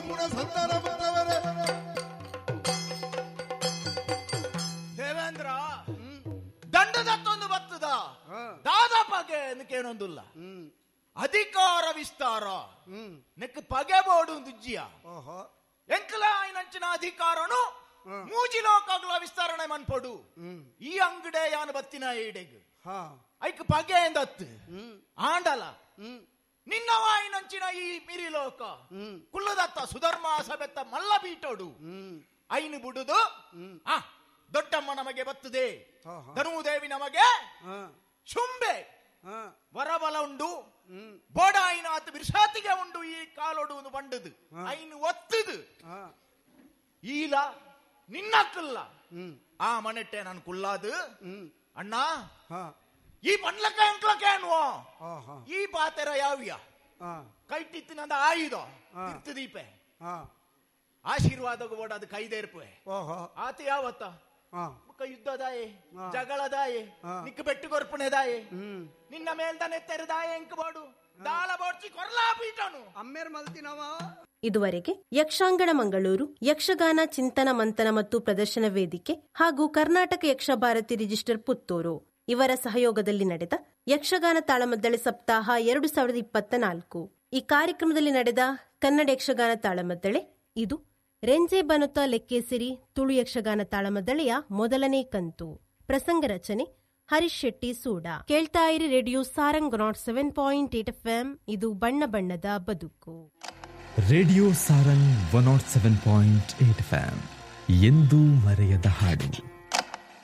ಸಂಪೂರ್ಣ ಸಂತಾನ ಪುತ್ರವರೇ. ದೇವೇಂದ್ರ ದಂಡದತ್ತೊಂದು ಬತ್ತದ ದಾದ ಪಗೆ ಏನೊಂದುಲ್ಲ ಅಧಿಕಾರ ವಿಸ್ತಾರ ನೆಕ್ ಪಗೆ ಬೋಡು ದುಜ್ಜಿಯ ಎಂಕಲ ಆಯ್ನಂಚಿನ ಅಧಿಕಾರನು ಮೂಜಿ ಲೋಕಗಳ ವಿಸ್ತರಣೆ ಮನ್ಪೊಡು. ಈ ಅಂಗಡೆ ಯಾನು ಬತ್ತಿನ ಈಡೆಗ್ ಐಕ್ ಪಗೆ ಎಂದತ್ತು ಆಂಡಲ ನಿನ್ನವಾಯಿನಂಚಿನ ಈ ಮಿರಿ ಲೋಕ ಕುಲ್ಲದತ್ತ ಸುಧರ್ಮ ಸಬೆತ್ತ ಮಲ್ಲ ಬೀಟೋಡು ಐನು ಬುಡುದು ಆ ದೊಡ್ಡಮ್ಮ ನಮಗೆ ಬತ್ತದೆ, ಧನುದೇವಿ ನಮಗೆ ಶುಂಬೆ ವರಬಲ ಉಂಡು, ಬೋಡಾಯಿನ ಆತ ಬಿರ್ಸಾತಿಗೆ ಉಂಡು, ಈ ಕಾಲೊಡು ಒಂದು ಬಂಡದು ಐನು ಒತ್ತದು ಈಲ ನಿನ್ನಕ್ಕಲ್ಲ ಆ ಮನೆಟ್ಟೆ ನಾನು ಕುಲ್ಲಾದು ಅಣ್ಣ ಈ ಪಂಡ್ಲಕ್ಕ ಎಂಕ್ಲಕ್ಕೇನುವ ಈ ಪಾತೆರ ಯಾವ್ಯ ಕೈಟಿತ್ತಿನಂದ ಆಯುಧ ದೀಪೆ ಆಶೀರ್ವಾದ ಬೋಡ ಅದು ಕೈದೇರ್ಪೆ ಆತ ಯಾವತ್ತ ಯುದ್ಧದಾಯೆ ಜಗಳದಾಯೆ ನಿಕ್ಕ ಬೆಟ್ಟು ಕೊರ್ಪಣೆದಾಯೆ ನಿನ್ನ ಮೇಲ್ದನೆ ತೆರೆದಾಯೆ ಎಂಕ್ ಬೋಡು ದಾಳ ಬೋಡ್ಚಿ ಕೊರ್ಲಾ ಪೀಟನು ಅಮ್ಮೇರ್ ಮಲ್ತಿನವ. ಇದುವರೆಗೆ ಯಕ್ಷಾಂಗಣ ಮಂಗಳೂರು ಯಕ್ಷಗಾನ ಚಿಂತನ ಮಂಥನ ಮತ್ತು ಪ್ರದರ್ಶನ ವೇದಿಕೆ ಹಾಗೂ ಕರ್ನಾಟಕ ಯಕ್ಷಭಾರತಿ ರಿಜಿಸ್ಟರ್ ಪುತ್ತೂರು ಇವರ ಸಹಯೋಗದಲ್ಲಿ ನಡೆದ ಯಕ್ಷಗಾನ ತಾಳಮದ್ದಳೆ ಸಪ್ತಾಹ 2024 ಈ ಕಾರ್ಯಕ್ರಮದಲ್ಲಿ ನಡೆದ ಕನ್ನಡ ಯಕ್ಷಗಾನ ತಾಳಮದ್ದಳೆ ಇದು ರೆಂಜೆ ಬನುತ ಲೆಕ್ಕೇಸಿರಿ ತುಳು ಯಕ್ಷಗಾನ ತಾಳಮದ್ದಳೆಯ ಮೊದಲನೇ ಕಂತು. ಪ್ರಸಂಗ ರಚನೆ ಹರೀಶ್ ಶೆಟ್ಟಿ ಸೂಡ. ಕೇಳ್ತಾ ಇರಿ ರೇಡಿಯೋ ಸಾರಂಗ್ 107.8 FM. ಇದು ಬಣ್ಣ ಬಣ್ಣದ ಬದುಕು. ರೇಡಿಯೋ ಸಾರಂಗ್ 107.8 FM ಎಂದೂ ಮರೆಯದ ಹಾಡು.